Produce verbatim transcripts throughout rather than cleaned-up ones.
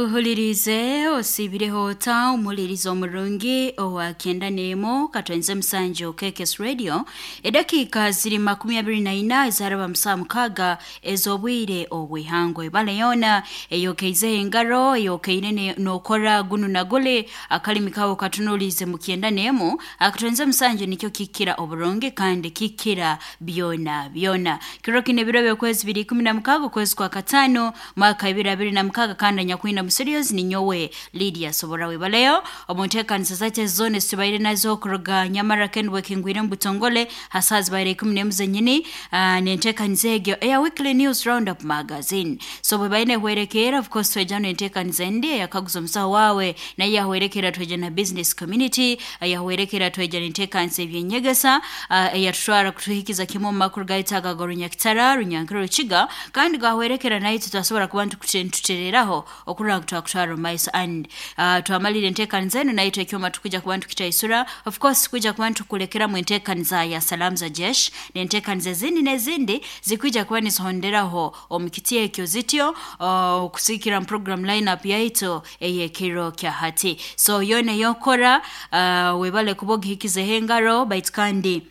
Uhulirize osiibireho ota omuhuliriza omurungi owa kyenda n'emu katwenze musanju K K S Radio. Edakiika ziri makumi abiri na ina ezaraba musaa mukaaga ez'obwire obw'ihangwe. Ebale yoona eyokeizeho engaro, eyokeire ne- n'okora gunu na guli, akalimi kawe katunuliize mu kyenda n'emu akatwenze musanju, nikyo kikira oburungi kandi kikira byona byona. Kiro kino ebiro by'okwezi biri ikumi na mukaaga, okwezi kwa kataano, mwaka ibiri abiri na mukaaga, kandi anyakwina mu studios ninyowe Lydia Sobora. Webaleyo omu nteekanisa zaitu zoona ezitubaire nazo okuruga nyamara kenbwe kingwire mu butongole hasaa zibaire ikumi n'emu zenyini, uh, nenteekaniza egyo eya Weekly News Roundup Magazine. So bwe baine hwerekeera, of course tweja nenteekaniza endi eyakaguza omusaho wawe, naye yahwerekera tweja na business community, yahwerekera tweja nenteekanisa ebyenyegesa, uh, eyatutwara kutuhikiza kimwe omu makuru gaitu aga Runyakitara, Runyankiro, Rukiga, kandi gahwerekera naitwe twasobora kuba ntukutereraho okurora ngu twakutwara omu maiso. And uh, twamalire enteekaniza eno, naitwe ekyoma tukwijja kuba ntukitaisura. Of course kwija kuba ntukulekeramu enteekaniza ya Salamu za Jesh n'enteekaniza ezindi n'ezindi zikwija kuba nizihonderaho omu kiti ekyo zityo, uh, okusikira mu program lineup yaitu ey'ekiro kya hati. So yoona eyokora, uh, webale kuba ogihikizeho engaro, baitu kandi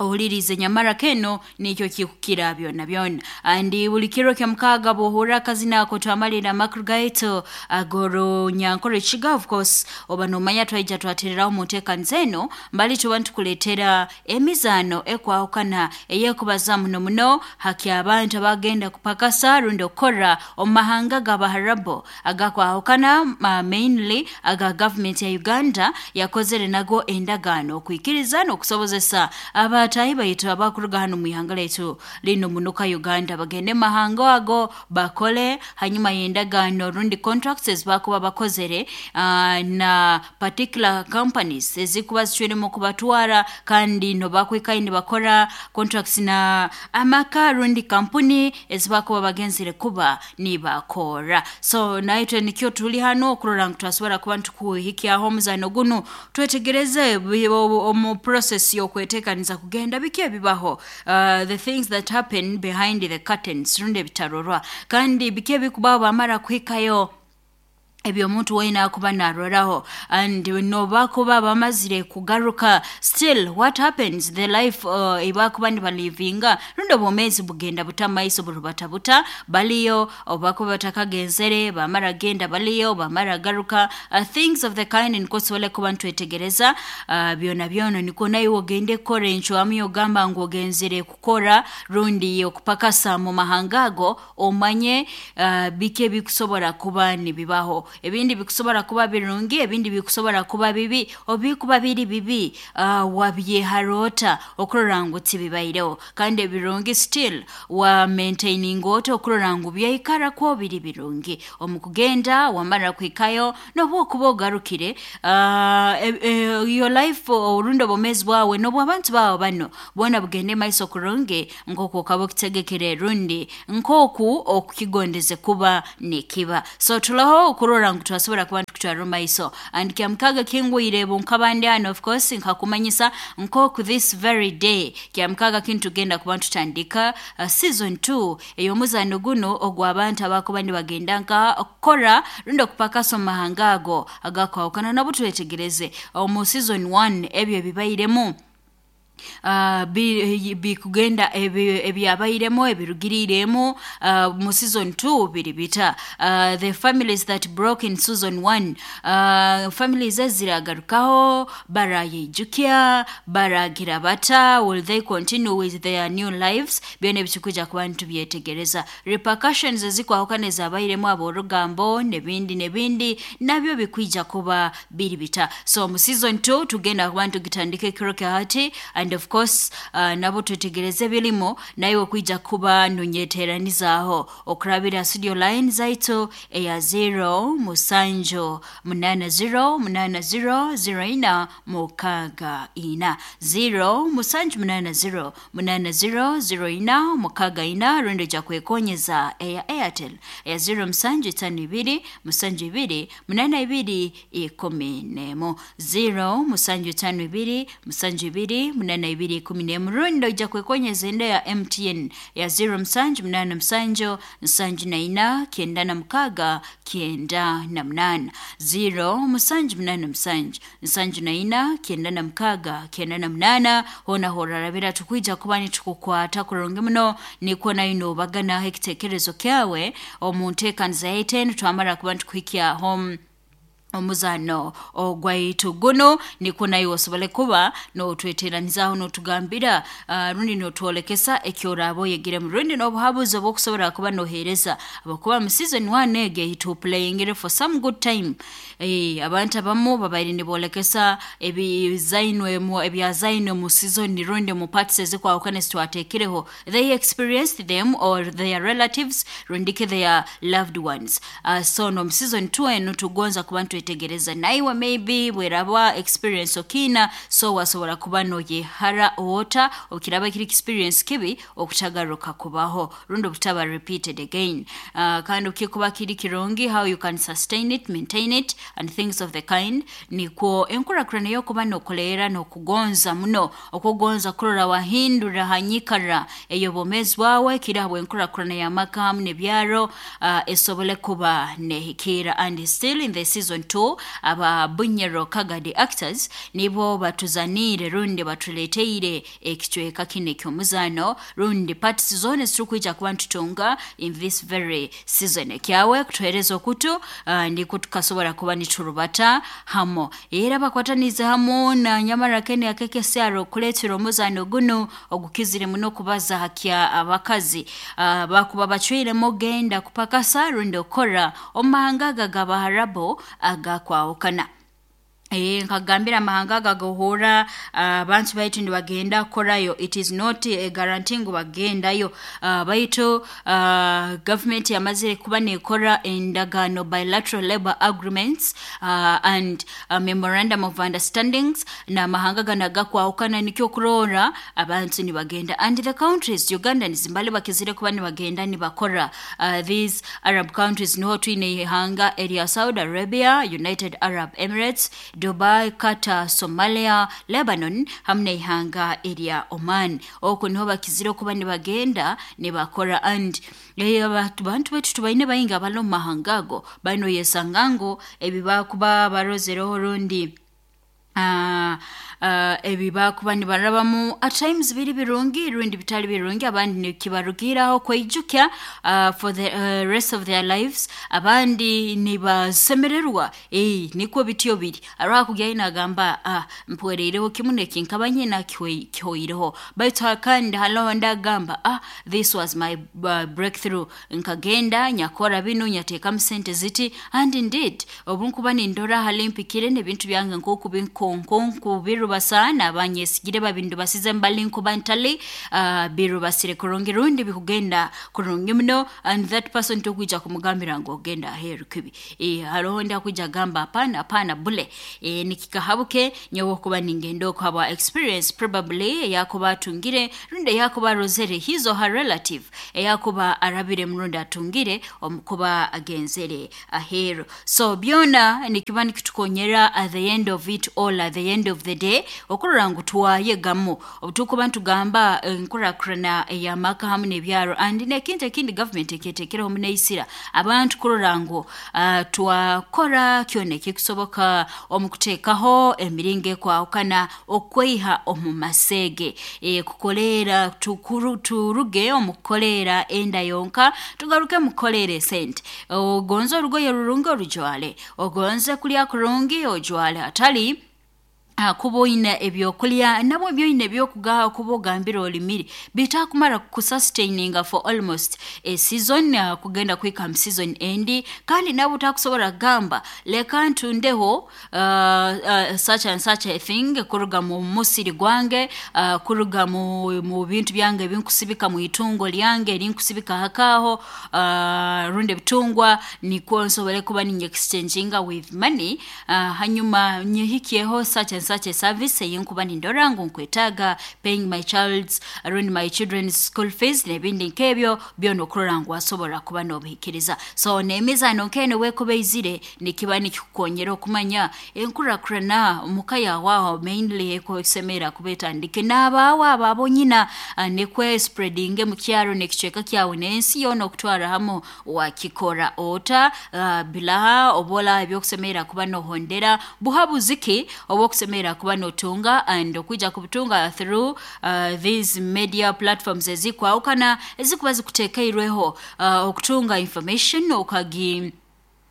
ohulirize nyamara keno nikyo kikukira byona byona. Andi buli kiro kya mukaaga bwohurra akazina ako, twamalira amakuru gaitu ag'Orunyankore Rukiga, of course oba nomanya twaija twatereraho mu nteekaniza eno mbali tuba nitukuleetera emizaano ekwahukana eyekubaza muno muno haki abantu abagenda kupakasa rundi okukora omu mahanga g'Abaharabu agakwahukana, uh, mainly aga gavumenti ya Uganda yakozere nago endagaano okwikiriza n'okusobozesa abataahi baitu abakuruga hano mu ihanga lyaitu lino munuka Uganda bagende mu mahanga ago bakole, hanyuma y'endagaano rundi contracts ezibakuba bakozere uh, na particular companies ezikuba zicwiremu kubatwara, kandi nobakwikayo nibakora contracts na amaka rundi kampuni ezibakuba bagenzere kuba nibakora. So naitwe nikyo tuli hano okurora ngu twasobora kuba ntukuhikyaho omuzano gunu, twetegereze bi- obu- omu process y'okwetekaniza kugenda, biki ebibaho, uh, the things that happen behind the curtains rundi ebitarorwa, kandi biki ebikubaho bamara kuhikayo, ebyo omuntu weena akuba naroraho, and nobakuba bamazire kugaruka, still what happens, the life uh, ebakuba nibalivinga rundi obwomeezi bugenda buta maiso, burubata buta baliyo obakuba batakagenzere, bamara genda baliyo, bamara garuka, uh, things of the kind. Nikwo tusobole kuba nitwetegereza uh, byona byona, nikwo naiwe ogende kukora encwamu yogamba ngu ogenzere kukora rundi okupakasa mu mahanga ago, omanye uh, biki ebikusobora kuba nibibaho. Ebindi bikusobora kuba birungi, ebindi bikusobora kuba bibi. Obikuba biri bibi, uh, wabyeharoota okurora ngu tibibaireho? Kandi ebirungi, still wa maintaining ota okurora ngu byaikarako biri birungi omu kugenda, wamara kuhikayo nobu okuba ogarukire, uh, e, e, your life orundi obwomeezi bwawe n'obw'abantu bawe bano boona bugende maiso kurungi nk'oku okaba okitegekere rundi nk'oku okukigondeze kuba nikiba. So tulaho okurora ngu twasobora kuba ntukutwara omu maiso. And kyamukaga kingwire bunkabandi hano, of course nkakumanyisa nk'oku this very day kyamukaga kinu tugenda kuba ntutandika uh, season two ey'omuzano guno ogw'abantu abakuba nibagenda nka kukora rundi okupakasa omu mahanga ago agakwahukana. Nabo twetegereze omu season one ebyo ebibairemu, uh, bikugenda ebyabairemu, ebirugiriiremu uh, mu season two biri bita, uh, the families that broke in season one, uh, families eziragarukaho, barayijukya, baragira bata? Will they continue with their new lives? Byona ebitukuja kuba ntubyetegereza. Repercussions ezikwahukana ezabairemu, aborugambo nebindi nebindi, nabyo bikwija kuba biri bita? So mu season two tugenda kuba ntugitandika ekiro kya hati, and of course uh, nabo twetegereze ebirimu, nawe kwija kuba nonyeteranizaaho okurabira studio line zaitu eya zero musanju munana zero munana zero zero ina mukaga ina, zero musanju munana zero munana zero zero ina mukaga ina, rundi ojja kwekonyeza eya Airtel eya zero musanju itano ibiri musanju ibiri munana ibiri ikumi nemu, zero musanju itano ibiri musanju ibiri munana na ibiri ikumi n'emu rundi oija kwekonyeza enda ya M T N ya zero musanju munaana musanju nsanju na ina kyenda na mukaaga kyenda na munaana zero musanju munaana musanju nsanju na ina kyenda na mukaaga kyenda na munaana hoona horarabira tukwija kuba nitukukwata kurungi muno nikwo nayo noobaganaho ekiteekerezo kyawe omu nteekaniza yaitu enu twamara kuba nitukuhikya home omuzano ogwaitu guno nikwo nayo osobole kuba notweteranizaho notugambira uh, rundi notwolekesa ekyoraba oyegiremu rundi n'obuhabuzi obwokusobora kuba nohereza abakuba mu season one ege ituplayingire for some good time. E, abantu abamu babaire nibolekesa ebizainwe mu ebyazainwe mu season rundi mu parts ezikwahukana zitwateekireho, they experienced them or their relatives rundi ke their loved ones. uh, so no mu season two enu tugonza kuba nitwetegereza naiwe maybe bweraba experience okina so wasobora kuba noyehara ota okiraba kiri experience kibi okutagaruka kubaho rundi obutaba repeated again. uh, kandi ukikuba kiri kirungi how you can sustain it, maintain it and things of the kind. Nikwo enkurakurana yokuba nokoleera nokugonza muno okugonza kurora wahindura hanyikara ey'obwomeezi bwawe kiri habwe enkurakurana y'amaka hamu n'ebyaro uh, esobole kuba nehikira. And still in the season two aba Bunyoro Kagadi actors nibo batuzaniire rundi batuleteire ekicweka kino eky'omuzaano rundi parts zona ezitukwija kuba nitutunga in this very season. Ekyawe kutuhereza okutu uh, ndiko tukasobora kuba niturubata hamo era bakwatanize hamu na Nyamara Kene akekesaro kuletera omuzaano guno ogukizire muno kubaza hakya abakazi uh, bakuba bacwiremu genda kupakasa rundi okora omahanga aga g'Abaharabo agakwahukana. E, nkagambira amahanga agagohora abantu uh, baitu nibagenda korayo, it is not a guarantee ngu bagendayo. uh, baitu uh, government yamazire kuba nekora endagaano bilateral labor agreements uh, and uh, memorandum of understandings n'amahanga gana gakwahukana nikyo kurora abantu nibagenda. And the countries Uganda nizimbali bakizire kuba nibagenda nibakora uh, these Arab countries niho twine ihanga erya Saudi Arabia, United Arab Emirates, Dubai, Qatar, Somalia, Lebanon hamwe n'ihanga erya Oman. Okwo niho bakizire kuba nibagenda nibakora. And abantu baitu tubaine baingi abali omu mahanga ago bano yesanga ngu ebi bakuba barozereho rundi Uh, uh, ebi bakuba nibarabamu at times biri birungi rundi bitali birungi, abandi nikibarugiraho kweijukya uh, for the uh, rest of their lives, abandi nibasemererwa eh nikwo bityo biri arakugya inagamba ah mpwereireho kimu nekinkaba nyina kihoireho baitu kandi haloho ndagamba ah this was my uh, breakthrough, nkagenda nyakora binu nyateekamu sente ziti. And indeed obunkuba nindora halimpikire n'ebintu byange nkoku binkonkonku birubasa abanyesigire babindu basize mbali nkuba ntali uh, birubasire kurungi rundi bikugenda kurungi muno. And that person tokwija kumugambira ngu ogenda aheeru kibi e, hariho ndi akuija gamba apana apana bule e, nikikahabuke nyowe okuba ningenda okuhabwa experience probably eyakuba atungire rundi eyakuba arozere his or her relative eyakuba arabire murundi atungire omukuba agenzere aheeru. So byona nikiba nikitukonyera at the end of it all, at the end of the day okurora ngu twayegamu obutukuba ntugamba enkurakurana ey'amaka hamu n'ebyaro. And n'ekintu ekindi government ekyeteekereho muneisira abantu kurora ngu uh, twakora kyona ekikusoboka omu kuteekaho emiringo ekwahukana okweiha omu maseege e, kukoleera tukuru turuge omu kukoleera enda yonka tugaruke mu kukoleera esente. Ogonze orugoye rurungi orujwale, ogonze kulya kurungi ojwale, atali kuba oyina ebyokulya nabwo ebyoyina ebyokugaha kuba ogambira olimire bitakumara kusustaininga for almost a season uh, kugenda kuhika mu season endi. Kandi nabwo takusobora kugamba leka ntundeho uh, uh, such and such a thing kuruga mu musiri gwange uh, kuruga mu, mu bintu byange ebinkusibika mu itungo lyange erinkusibika hakaho uh, rundi ebitungwa nikwo nsobole kuba ninye exchanginga with money uh, hanyuma nyehikyeho such and such a service eyinkuba nindora ngu nkwetaaga, paying my child's rundi my children's school fees n'ebindi nk'ebyo byona okurora ngu wasobora kuba n'obihikiriza. So n'emizaano nk'eno wekuba eizire nikiba nikikukonyera okumanya enkurakurana muka yawe aho mainly ekusemera kuba etandike n'abaawe abo abonyina, uh, nikwe spreadinge mu kyaro n'ekicweka kyawe n'ensi yoona okutwara hamu. Wakikora ota? uh, bilaha obola ebyokusemera kuba nohondera, buhabuzi ki obwokusemera kuba notunga and okuija kubutunga through uh, these media platforms ezikwawukana ezikuba zikutekeirweho uh, okutunga information okagi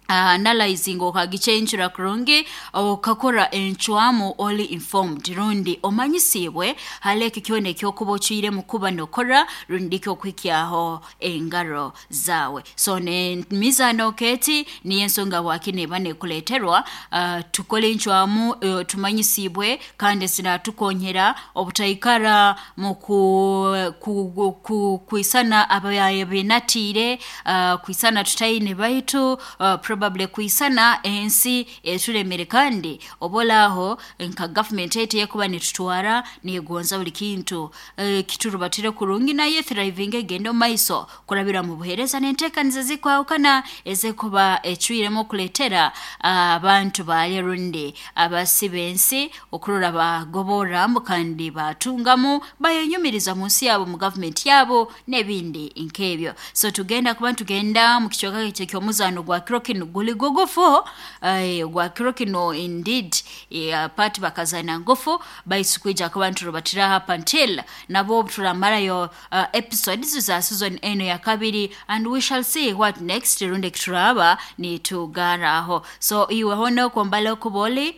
uh, analyzing, okagichenjera kurungi, okakora encwamu oli informed rundi omanyisibwe hali ekyo kyona ekyokuba ocwire mu kuba nokora rundi kyokuhikyaho engaro zawe. So ne mizano keti niyo ensonga waki neba nekuleterwa uh, tukole encwamu uh, tumanyisibwe kandi zinatukonyera obutaikara mu ku, ku, ku, ku, kwisana abayaye benatiire, uh, kwisana tutaine baitu uh, probably kwisana ensi eturemere. Kandi obolaho nka government yetu yekuba nitutwara negonza buli kintu e, kiturubatire kurungi naye thriving egenda maiso kurabira mu buhereza n'enteekaniza zikwawukana ezekuba ecwiremu okuleetera abantu baye rundi abasi b'ensi okurora bagoboramu kandi batungamu bayenyumiriza mu nsi yabo mu government yabo n'ebindi nk'ebyo. So tugenda kuba tugenda mu kicweka ekyo ky'omuzaano gwa kiro kino guli gugufu, eh, gwa kiro kino indeed, eh, part bakazana ngufu baitu kwija kuba nturubatira up until nabo turamarayo uh, episodes za season eno ya kabiri, and we shall see what next rundi kituraba nitugaraho. So iwe hono kwambala okuboli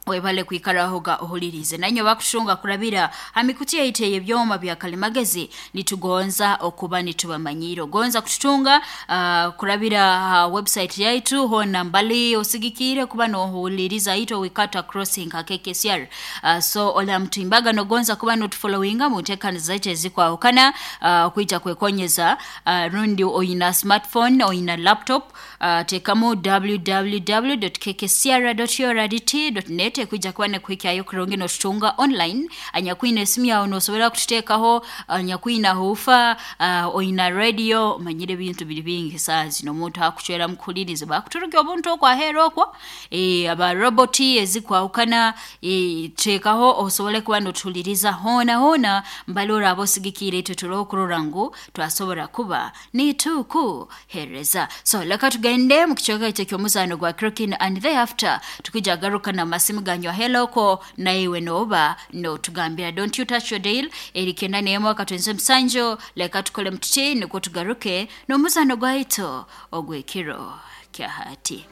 webale kwikaraho ga ohulirize nanyo bakushunga kurabira hamikuti yaitu ebyoma bya kalimagezi, nitugonza okuba nitubamanyiro gonza kututunga uh, kurabira uh, website yaitu hona mbali osigikire kuba nohuliriza ito wikata crossing ka K K S R. uh, so ola mtimbaga nogonza kuba notufollowinga mu ntekaniza zaitu ezikwahukana uh, kuija kwekonyeza uh, rundi oyina smartphone oyina laptop, uh, tekamu w w w dot k k c r dot u r d t dot net kuija kuba nekuhikyayo kurungi notutunga online. Anyakwina esimu yawe nosobora kututeekaho, anyakwina hufa uh, oyina radio, omanyire ebintu biri bingi saa zino omuntu akucwera mukuhuliriza bakuturuga obuntu okwahera okwo, e, aba roboti ezikwahukana, e, teekaho osobole kuba notuhuliriza hoona hoona mbali oraba osigikiire itwe turokurora ngu twasobora kuba nitukuhereza. So leka tugende mu kicweka ekyo ky'omuzaano gwa Krokin and thereafter tukija garuka na masimu ganywa heloko na iwe noba no tugambira don't you touch your dial eri kenda nemo akatwenze msanjo. Leka tukole mtuti niko tugaruke n'omuzano gwaito ogwekiro kya hati.